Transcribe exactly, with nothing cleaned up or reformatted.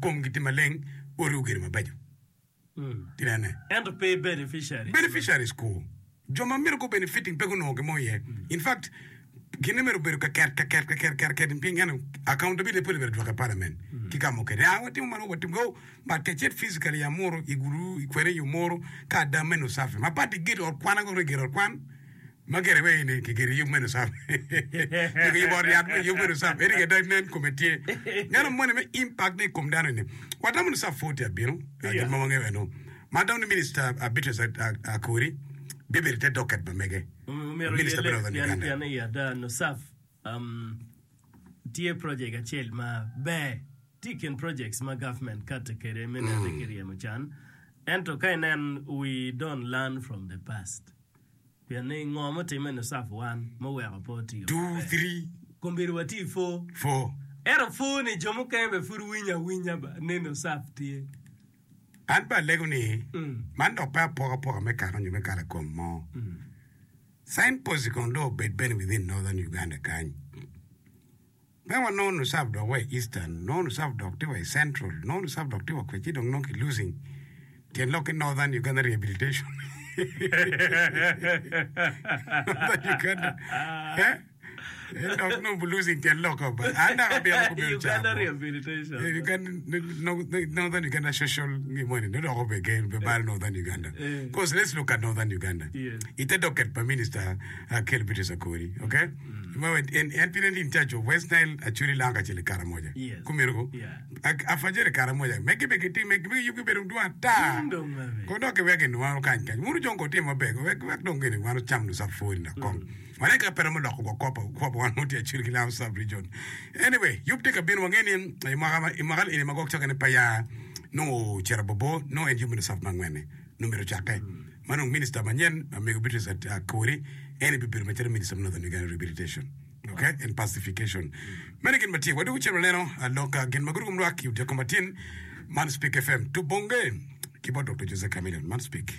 komgi tye maleng, odi ogedo mabeco. Tinene. Ento pe beneficiaries. Beneficiaries ku. Jo ma myero gu benefiting pe gunongo gin mo iye. In fact, gine myero obedo ka ket, ka ket, ka ket, ka ket piny ento accountability pud myero dwoke i parliament ki ka mukene. Ah, watimo man, watimo go, but ka icit physically i Amuru, i Gulu, i kwene i Omoro, ka ada meno safi. Ma pat igedo ot kwan, ago gedo ot kwan, ma gire wai ni kigedo yub meno safi. Nyo kiyubo ot yat me yub meno safi. Ento ada nen kome tye. Neno moni me impact ne i kom dano eni. Watamo ni saf pud tye abino, gin ma wangeyo eno. Ma atamo ni Minister Beatrice Akori bibedo i te docket ma mege. Omyero Minister oyelle me Northern pien Uganda. pien i ada NUSAF um, tye project acel ma ber tye i kin projects ma government kati kede me nene ki ryemo can ento ka inen we don't learn from the past pien ni ngo mutime i NUSAF one muweko pe otiyo Two, maber three, kombeddi watye i four four. ento four ni jo mukene bene pud winyo awinya ba ni NUSAF tye. An bene alego ni man dok pe apokapoka me kaka nyo me kala kom mo. Signpost kono dong obed bene within Northern Uganda kany. Pe wanongo NUSAF dok wa i Eastern, nongo NUSAF dok tye wa i Central, nongo NUSAF dok tye wa kwece ci dong nongo ki losing tyen lok ki Northern Uganda Rehabilitation. Northern Uganda. Eh? Eh, dok nongo losing tyen lok ba. An dok abino gubedo Uganda cabo. Rehabilitation. Eh, Uganda, no- no- Northern Uganda social ngimoni no dok obege be balo Northern Uganda. Eh. Because let's look at Northern Uganda. Yes. Ite docket pa minister Akel Beatrice Akori, okay? Ma en en pire in charge of West Nile, Acholi Lango kacel i Karamoja. Yes. Kumeno ko. Yeah. Ak- Afajere Karamoja. Megi be giti megi be yub gibedo dwong ata. Dwong dong maber. Ko dok iwek gin wano kany kany. Wunu jong ko timo maber. Wek wek dong gini wano cam nu safuri na kong. Wane ka pe romo loko wa kwo pa kwo pa wan ma tye Acholi ki Lango sub region. Anyway, yub tye ka bino wange ni i mwaka ma i mwaka eni ma gwok cokene pe ya nongo ocito bobo nongo en yub me nusaf ma angwenne nongo myero ocakke. Ma dong minister manyen Mego Beatrice Akori en aye bibedo macalo minister me Northern Uganda Rehabilitation okay and Pacification. Meno gin ma tye wadwogo cen waneno lok gin ma gudo kom lwak i odyeko matin man Speak FM tubonge ki bot Doktor Jose Chameleone man Speak.